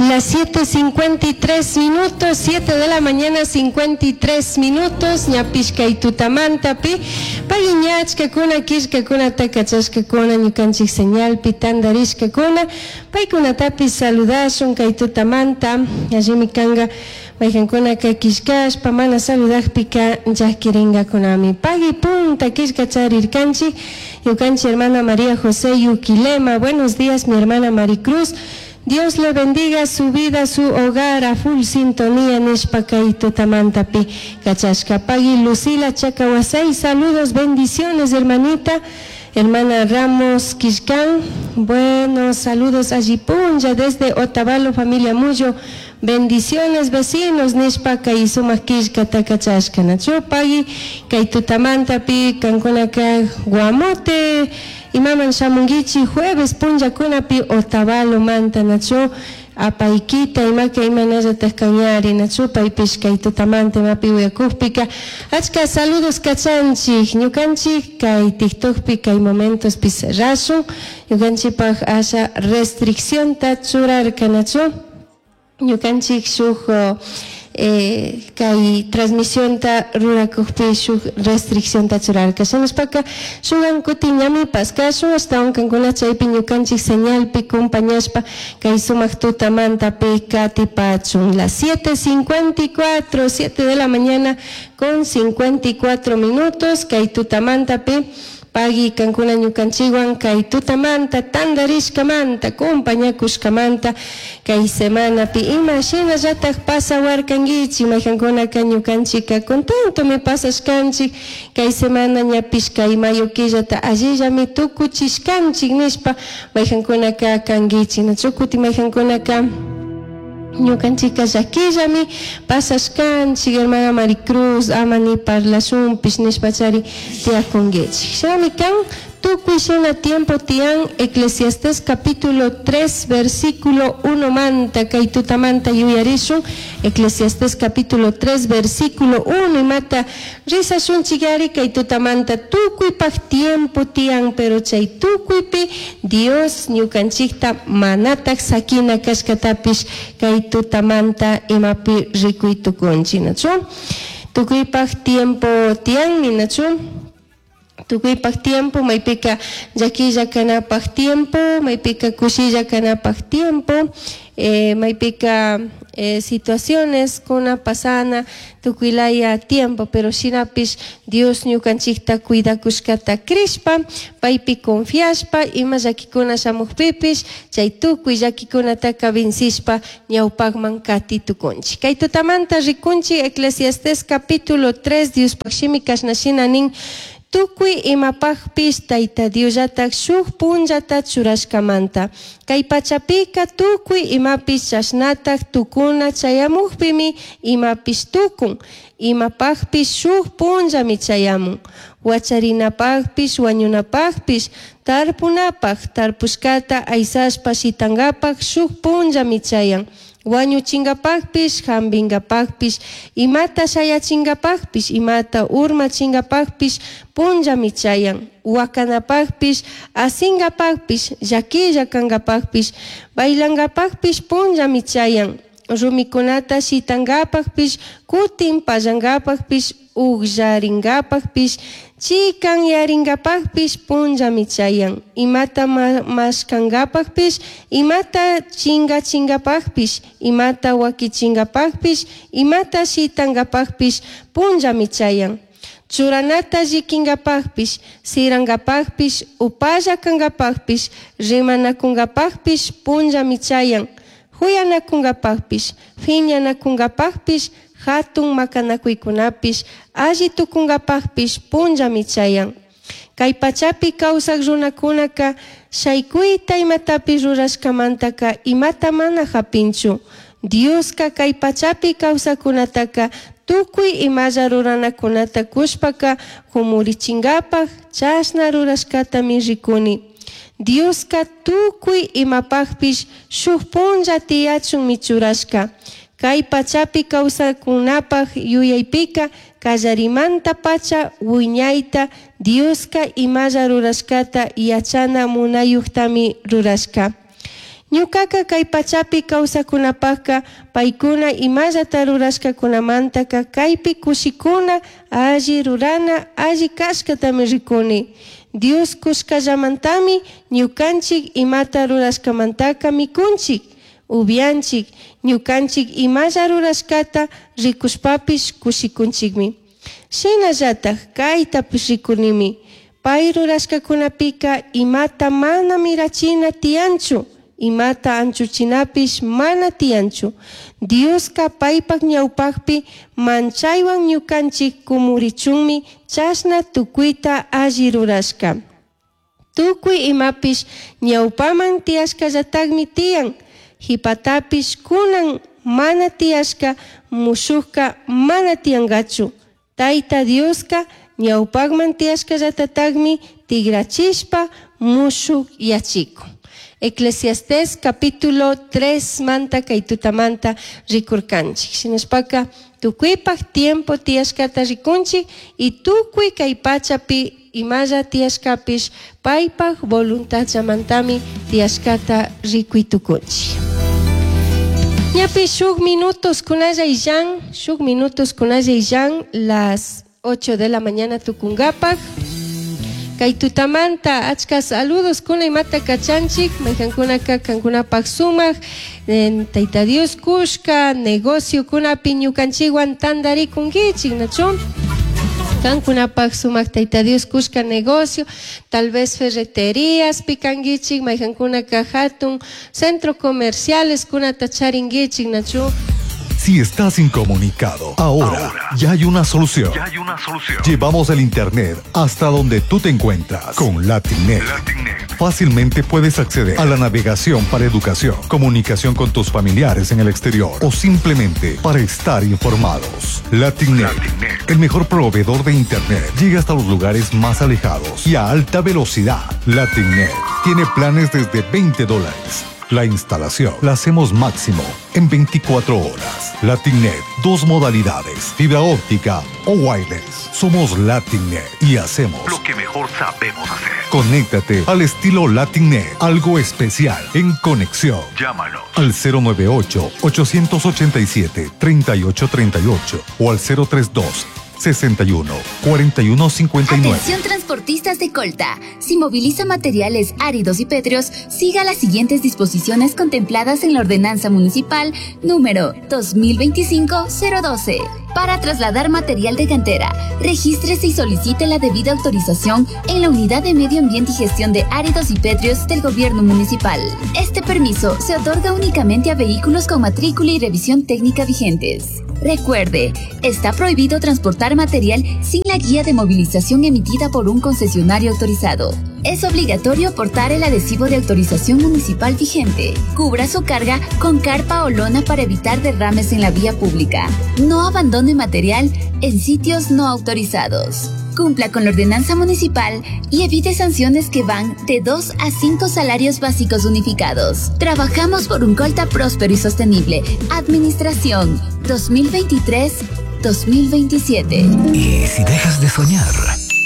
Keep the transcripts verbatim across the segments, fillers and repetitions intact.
Las siete cincuenta y tres minutos, siete de la mañana cincuenta y tres minutos, ñapish kay tutamantapi, pagui ñachkakuna, killkakunata kachashkakuna, ñukanchik señalpi tandarishkakuna, paykunatapish saludashun kay tutamanta. Allimi kanga maykankunaka killkashpa mana saludakpika llakirinkakunami. Pagui punta killka charirkanchik, ñukanchik hermana María José Yuquilema: "Buenos días, mi hermana Maricruz. Dios le bendiga su vida, su hogar, a full sintonía", nishpa kay tutamantapi kachashka. Pagui Lucila Chacahuasay: "Saludos, bendiciones, hermanita". Hermana Ramos Quiscán: "Buenos saludos alli punlla desde Otavalo, familia Muyo. Bendiciones, vecinos", nishpa kay sumak killkata kachashka. Nachu pagui kay tutamantapi kankunaka Guamote imaman shamunguichi jueves punllakunapi Otavalo manta, nachu apaykita imaka imanallatak kañari, nachu paypish kay tutamanta imapi uyakukpika achka saludos kachanchik. Ñukanchik kay TikTokpi kay momentospi cerrashun, ñukanchikpak asha restriccionta churarka, nachu ñukanchik shuk eh, kay transmisionta rurakukpi shuk restriccionta churarka. Shinashpaka shukan kutin ñami paskashun, ashtawan kankuna chaypi ñukanchik señalpi compañashpa kay sumak tutamantapi katipachun. Las siete cincuenta y cuatro, siete de la mañana con cincuenta y cuatro minutos, kay tutamantapi pagui kankuna ñukanchikwan kay tutamanta tandarishkamanta, compañakushkamanta. Kay semanapi ima shinallatak pasawarkankichik? Maykankunaka ñukanchika contentomi pasashkanchik kay semana, ñapish kay mayo killata allillami tukuchishkanchik nishpa maykankunaka kankichik, nachu? Kutin maykankunaka ñukanchika llakillami pasashkanchik, hermana Maricruz, ama ni parlashunpish nishpachari tiyakunkichik. Shinami kan, tukuy shina tiempo tiyan. Eclesiastés capítulo tres versículo uno manta kay tutamanta yuyarishun. Eclesiastés capítulo tres versículo uno imata rizashunchik kay tutamanta. Tukuypaj tiempo tiyan, pero chay tukuypi Dios ñukanchikta manatak sakina kashkatapish kay tutamanta imapi rikuy tukunchik, nachu? Tukuypaj tiempo tiyanmi, nachu? Tukuypaj tiempo, maypika llakilla kanapaj tiempo, maypika kushilla kanapaj tiempo, eh, maypika eh, situaciones kuna pasana, tukuylaya tiempo, pero shinapish Dios ñukanchikta cuidakushkata crishpa, paypi confiashpa, ima llakikuna shamukpipish chay tukuy llakikunataka vencishpa ñawpakman kati tukunchik. Kay tutamanta rikunchik Eclesiastés capítulo tres. Diospaj shimi kashna shina nin: "Tukuy imapajpish Tayta Diosllatak shuk punllata churashkamanta. Kay pachapika tukuy imapish chashnatak tukuna chayamukpimi imapish tukun. Imapajpish shuk punllami chayamun. Huacharinapajpish, wañunapajpish, tarpunapaj, tarpushkata aysashpa shitankapaj shuk punllami chayan. Wañuchinkapajpish, jampinkapajpish, imata shayachinkapajpish, imata urmachinkapajpish punllami chayan. Huacanapajpish, asinkapajpish, llaquilla kankapajpish, bailankapajpish punllami chayan. Rumikunata shitankapajpish, kutin pallankapajpish, ugllarinkapajpish, chikanyarinkapajpish punllami chayan. Imata mashkankapajpish, imata chingachinkapajpish, imata wakichinkapajpish, imata shitankapajpish punllami chayan. Churanata llikinkapajpish, sirankapajpish, upalla kankapajpish, rimanakunkapajpish punllami chayan. Juyanakunkapajpish, fiñanakunkapajpish, hatun makanakuykunapish, alli tukunkapajpish punllami chayan. Kay pachapi kawsak runakunaka shaykuyta imatapish rurashkamantaka imata mana japinchu. Dioska kay pachapi kawsakkunataka tukuy imalla ruranakunata kushpaka kumurichinkapak chashna rurashkatami rikuni. Dioska tukuy imapakpish shuk punlla tiyachunmi churashka. Kay pachapi kawsakkunapak yuyaypika kallarimanta pacha wiñayta Dioska imalla rurashkata yachana munayuktami rurashka. Ñucaca kay pachapi kawsakunapakka paykuna imallata rurashkakunamantaka kaypi kushikuna, alli rurana, alli kashkatami rikuni. Dios kushkallamantami ñukanchik imata rurashkamantaka mikunchik, upianchik, ñukanchik imalla rurashkata rikushpapish kushikunchikmi. Shinallatak kaytapish rikunimi, pay rurashkakunapika imata mana mirachina tiyanchu, imata anchuchinapish mana tiyanchu. Dioska paypak ñawpakpi manchaywan ñukanchik kumurichunmi chashna tukuyta alli rurashka. Tukuy imapish ñawpaman tiyashkallatakmi tiyan, hipatapish kunan mana tiyashka mushukka mana tiyankachu. Tayta Dioska ñawpakman tiyashkallatatakmi tigrachishpa mushuk yachikun. Eclesiastés capítulo tres manta kay tutamanta rikurkanchik. Shinashpaka tukuypak tiempo tiyashkata rikunchik y tukuy kay pachapi imalla tiyashkapish paypak voluntadllamantami tiyashkata rikuy tukunchik. Ñapi shuk minutos kunalla illan, shuk minutos kunalla illan, las ocho de la mañana tukungapak. Kay tutamanta achka saludos kuna imata kachanchik, maykankunaka kankunapak sumak, en Tayta Dios kushka, negocio kunapi ñukanchikwan tantarikunkichik, nachu? Kankunapak sumak Tayta Dios kushka negocio, tal vez ferreterías pikankichik, maykankunaka hatun centro comerciales kunata charinkichik, nachu? Si estás incomunicado, ahora, Ahora. ya hay una solución. Ya hay una solución. Llevamos el internet hasta donde tú te encuentras con LatinNet. LatinNet. Fácilmente puedes acceder a la navegación para educación, comunicación con tus familiares en el exterior o simplemente para estar informados. LatinNet, LatinNet. el mejor proveedor de internet, llega hasta los lugares más alejados y a alta velocidad. LatinNet tiene planes desde veinte dólares. La instalación la hacemos máximo en veinticuatro horas. LatinNet, dos modalidades, fibra óptica o wireless. Somos LatinNet y hacemos lo que mejor sabemos hacer. Conéctate al estilo LatinNet, algo especial en conexión. Llámanos al cero nueve ocho, ochocientos ochenta y siete, treinta y ocho treinta y ocho o al cero tres dos, sesenta y uno, cuarenta y uno, cincuenta y nueve. Atención transportistas de Colta. Si moviliza materiales áridos y pétreos, siga las siguientes disposiciones contempladas en la Ordenanza Municipal número dos mil veinticinco cero doce. Para trasladar material de cantera, regístrese y solicite la debida autorización en la Unidad de Medio Ambiente y Gestión de Áridos y Pétreos del Gobierno Municipal. Este permiso se otorga únicamente a vehículos con matrícula y revisión técnica vigentes. Recuerde, está prohibido transportar material sin la guía de movilización emitida por un concesionario autorizado. Es obligatorio portar el adhesivo de autorización municipal vigente. Cubra su carga con carpa o lona para evitar derrames en la vía pública. No abandone material en sitios no autorizados. Cumpla con la ordenanza municipal y evite sanciones que van de dos a cinco salarios básicos unificados. Trabajamos por un Colta próspero y sostenible. Administración dos mil veintitrés dos mil veintisiete. Y si dejas de soñar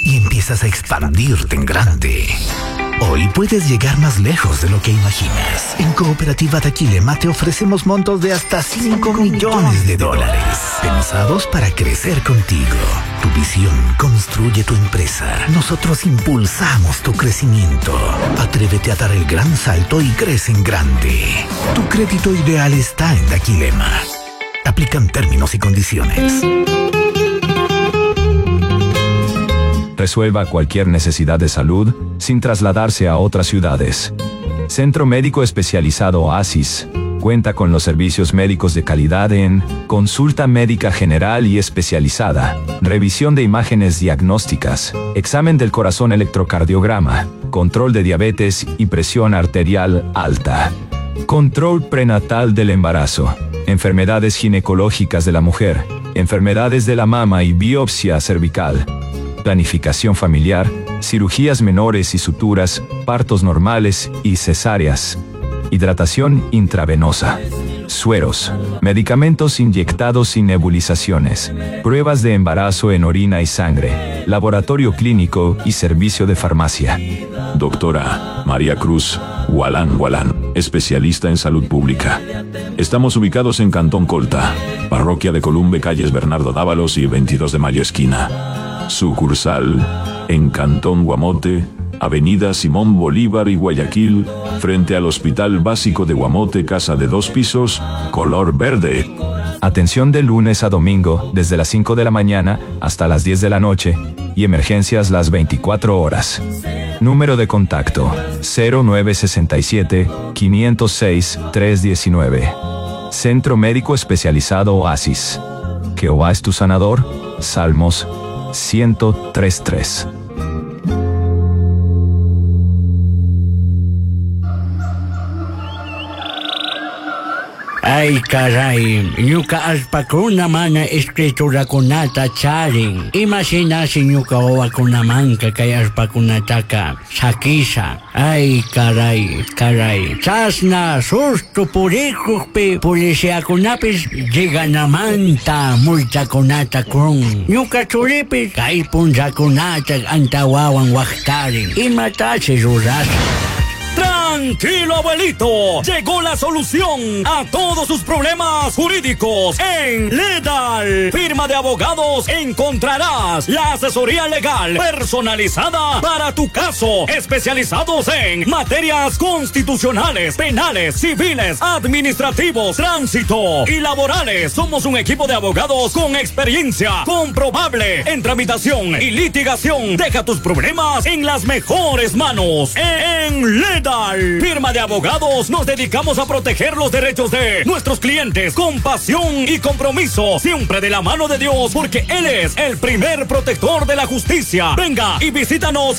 y empiezas a expandirte en grande, hoy puedes llegar más lejos de lo que imaginas. En Cooperativa Daquilema te ofrecemos montos de hasta cinco millones de dólares, pensados para crecer contigo. Tu visión construye tu empresa. Nosotros impulsamos tu crecimiento. Atrévete a dar el gran salto y crece en grande. Tu crédito ideal está en Daquilema. Aplican términos y condiciones. Resuelva cualquier necesidad de salud sin trasladarse a otras ciudades. Centro Médico Especializado Oasis cuenta con los servicios médicos de calidad en consulta médica general y especializada, revisión de imágenes diagnósticas, examen del corazón electrocardiograma, control de diabetes y presión arterial alta, control prenatal del embarazo, enfermedades ginecológicas de la mujer, enfermedades de la mama y biopsia cervical, planificación familiar, cirugías menores y suturas, partos normales y cesáreas, hidratación intravenosa, sueros, medicamentos inyectados y nebulizaciones, pruebas de embarazo en orina y sangre, laboratorio clínico y servicio de farmacia. Doctora María Cruz Gualán Gualán, especialista en salud pública. Estamos ubicados en Cantón Colta, parroquia de Columbe, calles Bernardo Dávalos y veintidós de Mayo esquina. Sucursal en Cantón Guamote, Avenida Simón Bolívar y Guayaquil, frente al Hospital Básico de Guamote, casa de dos pisos, color verde. Atención de lunes a domingo, desde las cinco de la mañana hasta las diez de la noche, y emergencias las veinticuatro horas. Número de contacto, cero nueve sesenta y siete, quinientos seis, tres diecinueve. Centro Médico Especializado Oasis. Jehová es tu sanador. Salmos ciento tres tres. Ay, caray, ñuka allpakuna mana escriturakunata charin. Imashinashi ñuka wawakunamanka kay allpakunataka sakisha. Ay, caray, caray. Chasna susto purikukpi policiakunapis lleganamanta multakunata kun. Ñuka churipis kay punllakunata antawawan waqtarin. Imatashi rurasha. Tranquilo, abuelito. Llegó la solución a todos sus problemas jurídicos en Ledal. Firma de abogados, encontrarás la asesoría legal personalizada para tu caso. Especializados en materias constitucionales, penales, civiles, administrativos, tránsito y laborales. Somos un equipo de abogados con experiencia comprobable en tramitación y litigación. Deja tus problemas en las mejores manos. En Ledal, firma de abogados, nos dedicamos a proteger los derechos de nuestros clientes con pasión y compromiso, siempre de la mano de Dios, porque Él es el primer protector de la justicia. Venga y visítanos.